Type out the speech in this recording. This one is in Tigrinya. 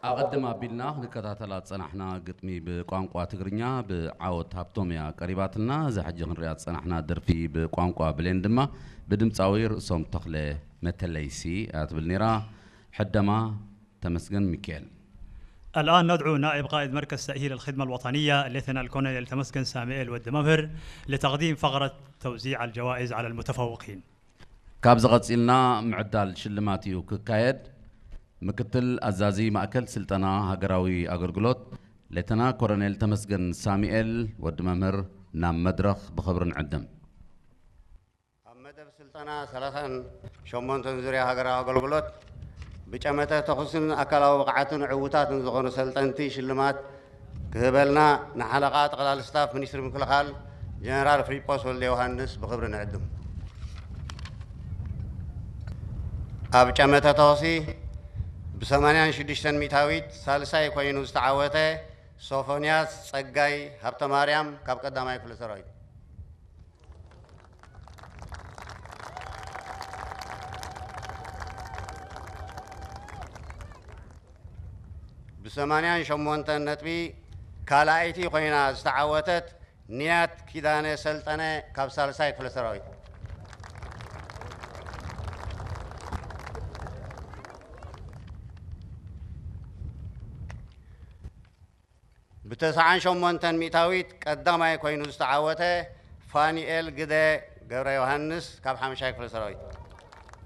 ኣቐድም ኣቢልና ክንከታተላ ዝጸናሕና ግጥሚ ብቋንቋ ትግርኛ ብዓወት ሃብቶም እያ ቀሪባትና። እዛ ሕጂ ክንሪኣ ዝጸናሕና ደርፊ ብቋንቋ ብሌን ድማ ብድምጻዊ ርእሶም ተኽለ መተለይሲ እያ ትብል ነይራ። ሕደማ ተመስገን ሚካኤል። الآن ندعو نائب قائد مركز تأهيل الخدمة الوطنية الليتنال كولونيل تمسكن ساميئيل ود ممهر لتقديم فقرة توزيع الجوائز على المتفوقين. ካብዚ ቀጺልና ምዕዳል ሽልማት እዩ ክካየድ። ምክትል ኣዛዚ ማእከል ስልጠና ሃገራዊ ኣገልግሎት ሌተና ኮሎኔል ተመስገን ሳሙኤል ወዲ መምህር ናብ መድረኽ ብኽብሪ ንዕድም። ኣብ መደብ ስልጠና ሰላሳን ሸሞንተን ዙርያ ሃገራዊ ኣገልግሎት ብጨመተ ተኹስን ኣካላዊ ብቕዓትን ዕዉታትን ዝኾኑ ሰልጠንቲ ሽልማት ክህበልና ንሓለቓ ጠቕላሊ ስታፍ ሚኒስትሪ ምክልኻል ጀነራል ፍሊጶስ ወልደ ዮሃንስ ብኽብሪ ንዕድም። ኣብ ጨመተ ተኹሲ ብሰማንያን ሽዱሽተን ሚእታዊት ሳልሳይ ኮይኑ ዝተዓወተ ሶፎንያስ ጸጋይ ሃብተማርያም ካብ ቀዳማይ ክፍለ ሰራዊት። ብሰማንያን ሸሞንተን ነጥቢ ካልኣይቲ ኮይና ዝተዓወተት ንያት ኪዳነ ሰልጠነ ካብ ሳልሳይ ክፍለ ሰራዊት። ብተስዓን ሸሞንተን ሚእታዊት ቀዳማይ ኮይኑ ዝተዓወተ ፋኒኤል ግደ ገብረ ዮሃንስ ካብ ሓምሻይ ክፍለ ሰራዊት።